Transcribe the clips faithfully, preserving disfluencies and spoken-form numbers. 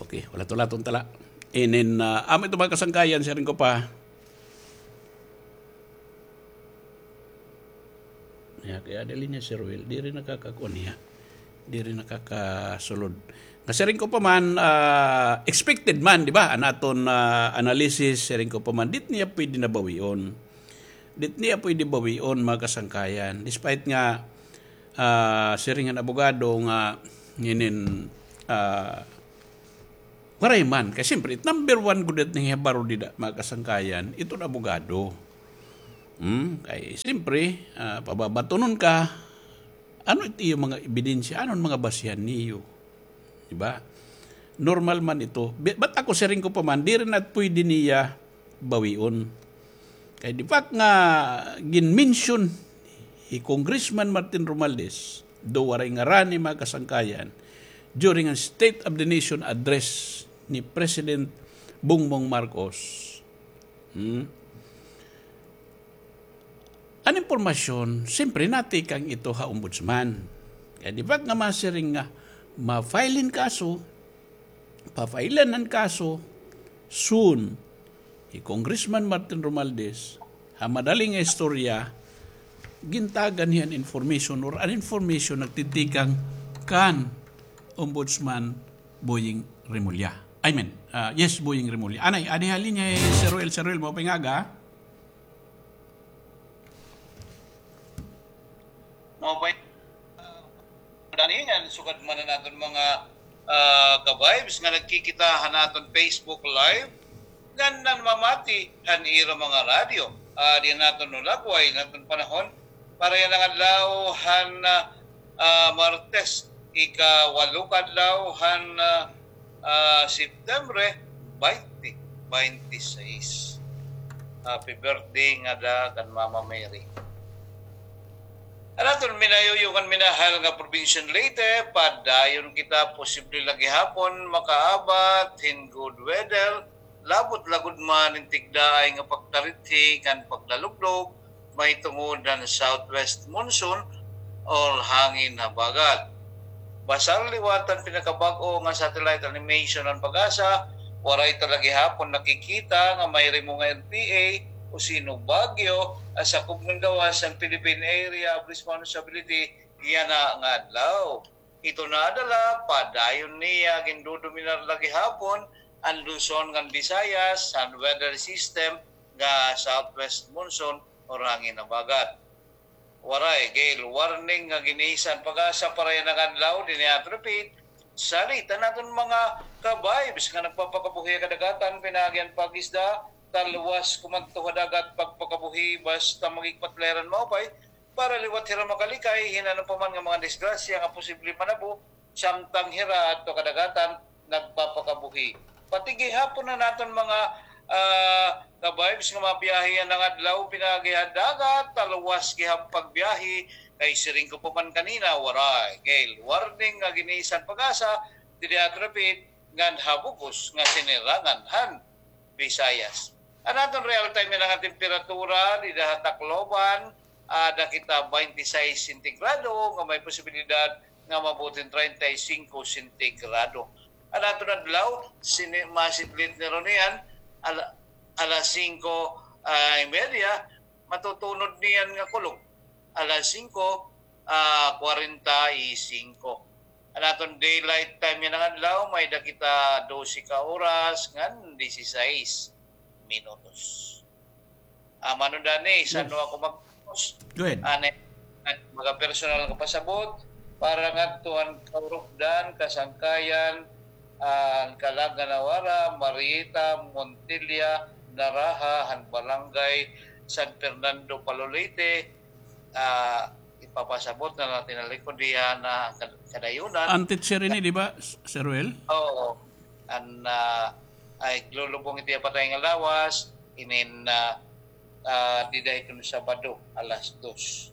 Okay, wala to laton tala. Inin, ah, amo ito mga kasangkayan, siring ko pa. Ya, kay ada linya si Ruel, diri nakakakuan niya. Diri nakakasulod. Nga siring ko pa man, ah, expected man, di ba? An aton, ah, analysis, siring ko pa man, dit niya pwede na bawion. Dit niya pwede bawion, mga kasangkayan. Despite nga, ah, siring an abogado nga nginin, ah, waray man. Kay siyempre, it number one gud it ning hibaro dida, mga kasangkayan, iton abogado. Hmm? Kay siyempre, ah, pababatonon ka, ano it iyo mga ebidensya, ano an mga basihan niyo? Di ba? Normal man ito. Bi-, but ako, siring ko pa man, diri na pwede niya bawion. Kay di fact nga gin-mention hi Congressman Martin Romualdez, do waray ngaran ni mga kasangkayan, during an State of the Nation address ni President Bongbong Marcos. Hmm? An impormasyon, siyempre, natikang ito ha ombudsman. Kay di ba nga masiring nga, ma-file hin kaso, pa-file-an an kaso, soon, hi Congressman Martin Romualdez, ha madali nga istorya, gintagan hiya an information or an information nagtitikang kan Ombudsman Boying Remulla. I mean, ah, yes, Boying Remulla. Anay, adi ha linya hi Sir Ruel. Sir Ruel, maupay nga aga. Mao pa, ah, dani ngan sugad man an aton mga, ah, ka-vibes nga nagkikita han aton Facebook Live, ngan namamati han ira mga radyo. Ah, di naton nulagway an aton panahon para yana nga adlaw han, ah, ah, Martes, ikawalo ka adlaw han, ah, ah, Septembre twenty twenty-six. Happy birthday ngada kan Mama Mary. An aton minayuyo ngan minahal nga probinsya han Leyte, padayon kita posible la gihapon makaabat hin good weather, labot la gud man hin tigdaay nga pagtarithi ngan paglalugdog, mahitungod han southwest monsoon or hangin habagat. Basar liwat han pinakabag-o nga satellite animation han PAGASA, waray ta la gihapon nakikita nga may rimo nga R P A o sino bagyo an sakob ngan gawas han Philippine Area of Responsibility yana nga adlaw. Ito na adala, padayon niya gindodominar la gihapon an Luzon ngan Visayas han weather system nga southwest monsoon or hangin habagat. Waray gale warning nga gin-issue an PAGASA para yana nga adlaw, dinhi aton repeat, salit an aton mga ka-vibes nga nagpapakabuhi ha kadagatan, pinaagi han pag-isda, talwas kumadto ha dagat, pagpakabuhi, basta magigpatlayaran maupay, para liwat hira makalikay hin ano pa man nga mga disgrasya nga posible manabo, samtang hira adto kadagatan nagpapakabuhi. Pati gihapon an aton mga, ah, ka-vibes nga mabiyahe yana nga adlaw pinaagi ha dagat, talwas gihap pagbiyahe, kay siring ko pa man kanina, waray gale warning nga gin-issue an PAGASA, didi ha Traffic, ngan ha bug-os nga sinirangan han Visayas. An aton real time yana nga temperatura dida ha Tacloban, ada kita twenty-six sentigrado nga may posibilidad nga maabot hin treinta y cinco sentigrado. An aton adlaw, sini-, masidlit ni Ronian, ala-, alas singko, ah, y media, matutunod niyan nga kulog. Alas singko, ah, kwarenta y singko. An aton daylight time yana nga adlaw, may-ada kita dose ka oras ngan disisais minutos. Ah, Mano Danny, san-o ako mag-, Go ahead. Ano, mga personal nga pasabot, para ngadto han kaurupdan, kasangkayan, an Kalag ngan Awara, Marieta, Montilla, Naraha, han Barangay San Fernando, Palo, Leyte, ah, ipapasabot na la tinalikod diha na kad-, kadayunan. An teacher ini, di ba, S-, Sir Ruel? Oo. An, ah, ay, lulubong iti patay nga lawas, inin, ah, ah, dida iton Sabado, alas dos.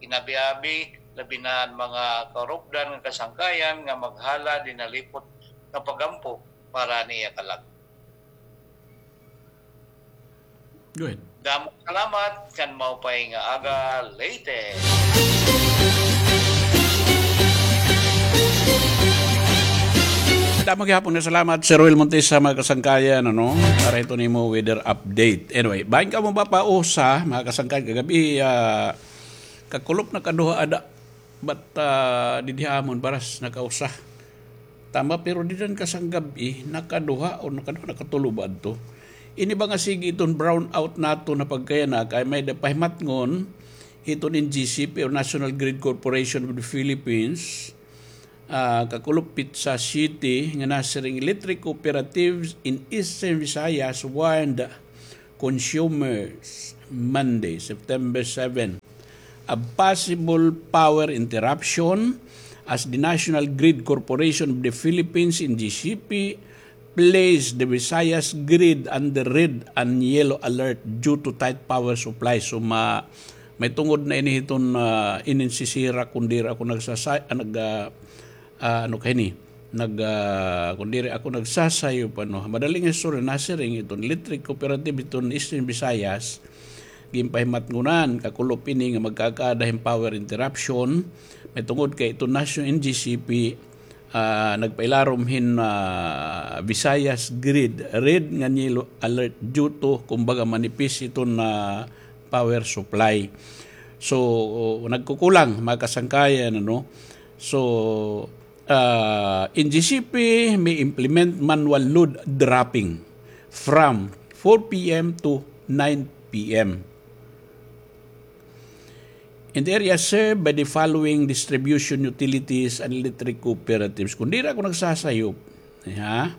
Inabi-abi, labi na an mga kaurupdan nga kasangkayan nga maghala dinalipot nga pag-ampo para niya Kalag. Go ahead. Damo salamat, kan maupay nga aga, Leyte. Damo gihapon nga salamat, Sir Will Montesa, mga kasangkayan, ano, para hiton imo weather update. Anyway, bahin kamo mapausa, mga kasangkayan, kagab-i, ah, kakulop na kaduha ada, but, ah, didi ha amon, baras nakausa. Tama, pero dida kasangkay gab-i, nakaduha o nakaduha, nakatulo ba adto? Ini ba nga sige iton brownout naton nga pagkayana, kay may-ada pahimatngon hiton N G C P or National Grid Corporation of the Philippines, ah, kakulop petsa siyete nga nasiring, electric cooperatives in Eastern Visayas warned consumers Monday, September seven, of possible power interruption as the National Grid Corporation of the Philippines, N G C P, placed the Visayas grid under red and yellow alert due to tight power supply. So, ma-, may tungod na ini hiton, ah, inin sisira kun diri ako nagsasa-, ah, nag-, ah, ah, ano kay ni, nag, ah, kun diri ako nagsasayop, ano, madaling istorya, nasiring iton electric cooperative iton Eastern Visayas, ginpahimatngonan, kakulop ini nga magkakaada hin power interruption, may tungod kay iton National N G C P, ah, nagpailarom hin, ah, Visayas grid, red ngan yellow alert due to, kumbaga, manipis iton, ah, power supply. So, nagkukulang, mga kasangkayan, ano? So, ah, N G C P may implement manual load dropping from four P M to nine P M in the area served by the following distribution utilities and electric cooperatives. Kun diri ako nagsasayop, ha?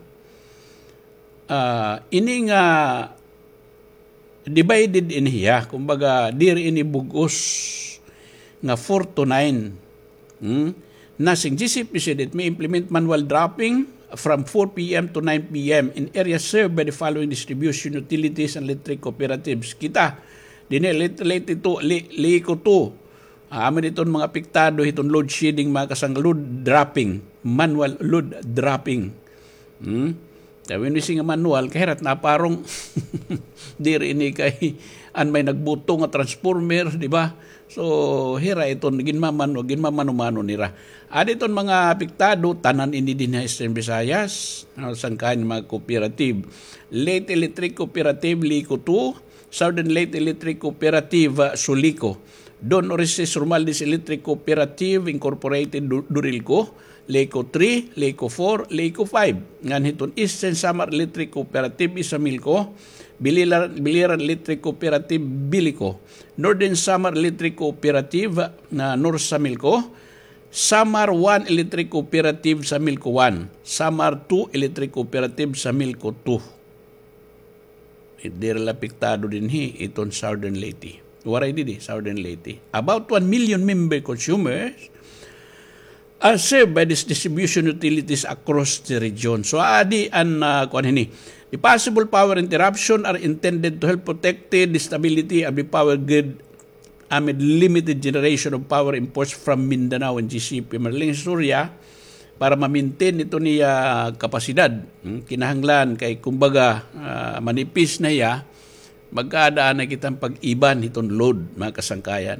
Ah, ini nga divided ini hiya. Kumbaga, diri ini bug-os nga four to nine. Hmm? Nasing G C P said it may implement manual dropping from four P M to nine P M in areas served by the following distribution utilities and electric cooperatives. Kita, dinhi, Leyte, Leyte two, Li-, Lico two. Ah, amin iton mga apektado hiton load shedding, mga kasang load dropping, manual load dropping. Hmm? Kay when we say nga manual, kay hira it naparong. Diri ini kay an may nagbuto nga transformer, di ba? So, hira iton ginmamanu-, ginmamano-mano nira. Adi iton mga apektado, tanan ini dinhi ha Eastern Visayas, ah, sangkayan mga cooperative. Leyte Electric Cooperative, Lico two, Southern Leyte Electric Cooperative, ah, Sulico. Don Orestes Romualdez Electric Cooperative Incorporated, Du-, Durilco, Lico three, Lico four, Lico five. Ngan hiton Eastern Samar Electric Cooperative, Isamilco, Biliran, Biliran Electric Cooperative, Bilico, Northern Samar Electric Cooperative, na North Samilco, Samar one Electric Cooperative, Samilco one, Samar two Electric Cooperative, Samilco two. Diri la apektado dinhi iton Southern Leyte. Waray didi, Southern Leyte. About one million member consumers are served by these distribution utilities across the region. So, adi an, ah, kuan hini. The possible power interruption are intended to help protect the stability of the power grid amid limited generation of power imports from Mindanao and G C P. Madaling istorya, para ma-maintain iton iya kapasidad. Hmm, kinahanglan kay, kumbaga, ah, manipis na hiya, magkaada na kita hin pag-iban hiton load, mga kasangkayan.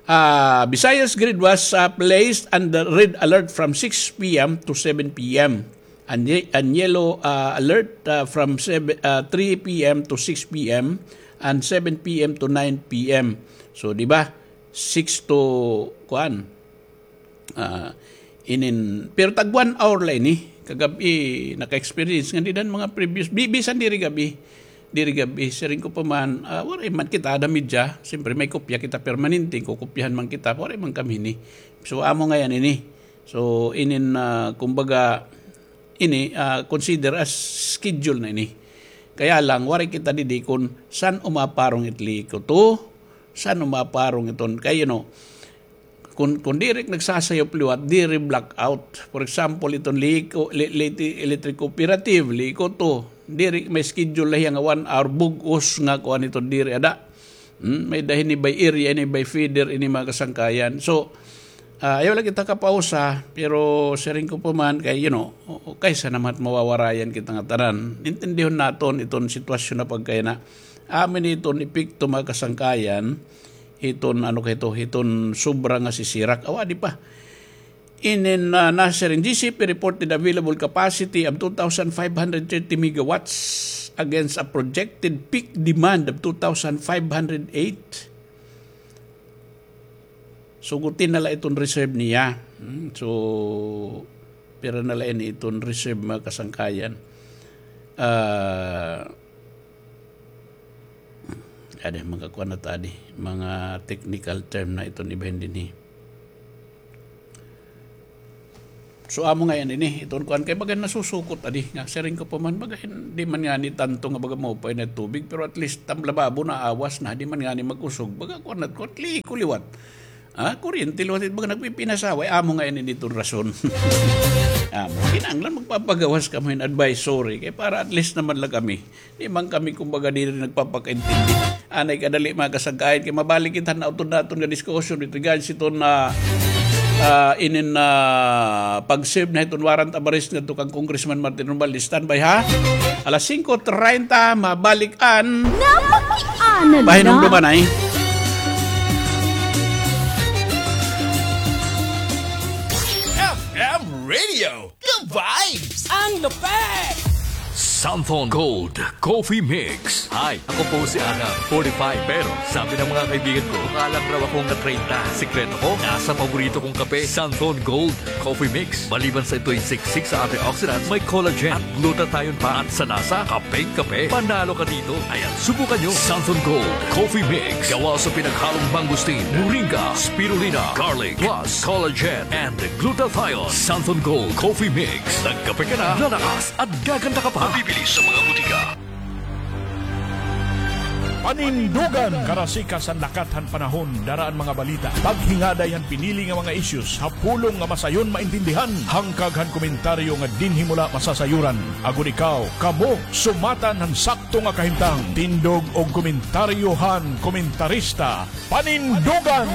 Ah, Visayas grid was, ah, placed under red alert from six P M to seven P M. And ye-, and yellow, ah, alert, ah, from seven, ah, three P M to six P M and seven P M to nine P M. So, di ba? Six to, kuan, ah, inin, pero tag one hour la ini. Kagab-i, naka-experience nga dida han mga previous, bi-, bisan diri gab-i. Diri gab-i, siring ko pa man, ah, waray man kita ada media. Siyempre, may kopya kita permanente, kukopyahan man kita, waray man kami ini. So, amo ngay-an ini. So, inin, ah, kumbaga, ini, ah, consider as schedule na ini. Kaya lang, waray kita didi kun san-o maparong it Lico two, san-o maparong iton. Kay, you know, kun, kun diri nagsasayop liwat, diri blackout. For example, iton Lico, Li-, Leyte Electric Cooperative, Lico two, diri may schedule la hiya nga one hour bug-os nga kuan iton diri ada. Hmm, may-ada hini by area, ini by feeder, ini mga kasangkayan. So, ah, ayaw la kita kapausa, pero siring ko pa man kay, you know, o-, o-, kaysa naman mawawarayan kita nga tanan. Intindihon naton iton sitwasyon na pagkayana. Amin iton epekto, mga kasangkayan, hiton, ano kay ito, hiton sobra nga sisirak. Awa, di pa. Inin, ah, nasiring, G C P reported available capacity of two thousand five hundred thirty megawatts against a projected peak demand of two thousand five hundred eight. Suguti na la iton reserve niya. Hmm, so, pira na la ini iton reserve, mga kasangkayan. Ah, Adi, mga kuan na ta adi, mga technical term na iton ibahin dinhi. So, amo ngay-an ini, iton kuan kay baga nasusukot adi, nga siring ko pa man, baga hin-, di man ngani tanto nga baga maupay na tubig, pero at least tam lababo na awas na, di man ngani mag-usog, baga kuan na, kuan, liko liwat. Ah, kuryente liwat, baga nagpipinasaway, amo ngay-an ini iton rason. Amo, kinahanglan magpapagawas kamo hin advisory, kay para at least naman la kami. Di man kami, kumbaga, diri nagpapakaintindi. Anay kadali, mga kasangkayan, kay mabalik kita na utod naton nga diskusyon dito, guys. Ito na, ah, inin na pag-serve na iton warrant of arrest ngadto kan Congressman Martin Romualdez. Standby, ha? Alas singko treinta, mabalik an Napakiana na. Pahinumduman ay. F M Radio. The vibes! Ang lupet! Santhon Gold Coffee Mix. Hi, ako po si Ana, forty-five. Pero sabi ng mga kaibigan ko, mukha lang raw akong na treinta. Sikreto ko, nasa paborito kong kape, Santhon Gold Coffee Mix. Maliban sa ito'y siksik sa antioxidants, may collagen at glutathione pa. At sa lasa, kapeng-kape. Panalo ka dito. Ayan, subukan nyo. Santhon Gold Coffee Mix. Gawa sa pinaghalong mangosteen, moringa, spirulina, garlic, plus collagen and glutathione. Santhon Gold Coffee Mix. Nagkape ka na, lalakas at gaganda ka pa. Mabibili sa mga butika. Panindugan, karasikas han lakat han panahon, dara an mga balita. Paghingaday han pinili nga mga issues ha pulong nga masayon maintindihan. Hangkag han komentaryo nga dinhi mo la masasayuran. Agod ikaw, kamo, sumatan han sakto nga kahimtang. Tindog og komentaryo han komentarista. Panindugan!